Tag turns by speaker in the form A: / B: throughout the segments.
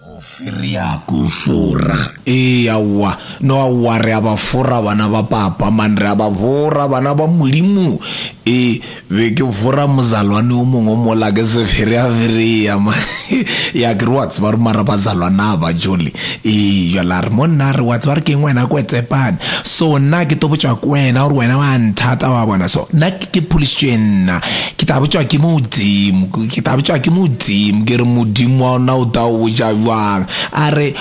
A: Go ferea ko fora. Ee, aowa. No, aowa, re a ba fora bana ba papa, man, re a ba fora bana ba Modimo. Ee, be ke fora mozalwane o mongwe mola ke se ferea-ferea, man. Ya, ke re wa tseba re mara bazalwana ba jole. Ee, jwale a re monna, a re wa tseba re keng wena kwetsepane. So nna ke to botšwa ke wena gore wena wa nthata wa bona. So nna ke pholositšwe nna. Ke tla botšwa ke Modimo, ke tla botšwa ke Modimo. Ke re Modimo wa ona o tla o botša bjang? A re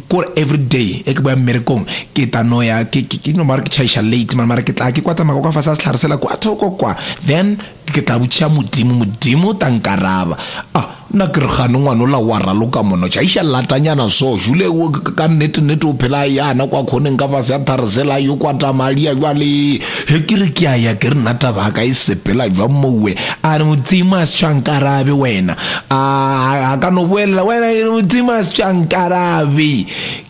A: kore every day e ke boya mmerekong ke tla no ya ke ke no mara ke tšhaiša late man mara ke tla ke kwa tsamaya kwa fase ga sehlare sela kwa thoko kwa then ke tla botšiša Modimo, Modimo o tla nkaraba. Ah, nna ke re gane ngwana ola wa raloka mono tšhaiša latanyana so jule ka nnete nnete o phela yana kwa khoneng ka fase ya thare sela yo kwa tamalia jwale he ke re ke a ya ke re nna taba ka e sepela jwang mowe a re Modimo a se tšwa nkarabe wena a a ka no boelela wena ke re Modimo a se tšwa nkarabe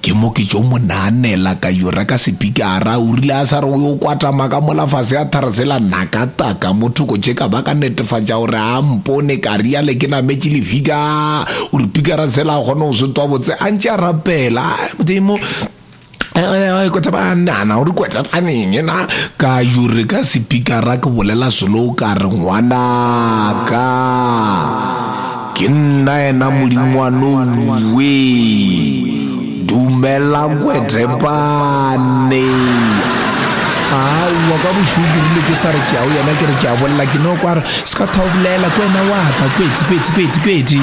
A: Ke mo ke tšo mo naanela ka yo reka sepikara, o rile a sa re o yo kwatama ka mola fase a tharsela naka taka mo thoko tše ka ba ka netefatša gore a mpone, ka riale ke nametše lefika, o re pikara sela a kgone go se twa botse a ntše a rapela, ai Modimo kwetsepanana o re kwetsepaneng na ka yo re ka sepikara ke bolela selo ka re ngwanaka. Ke nna yena modingwanowe. Dumela Kwetepane. Aowa ka bošego ke rile ke sa re ke ya go yena ke re ke a bolela ke no kwa re se ka tha o bolela ke wena wa ka kwetsi kwetsi kwetsi kwetsi.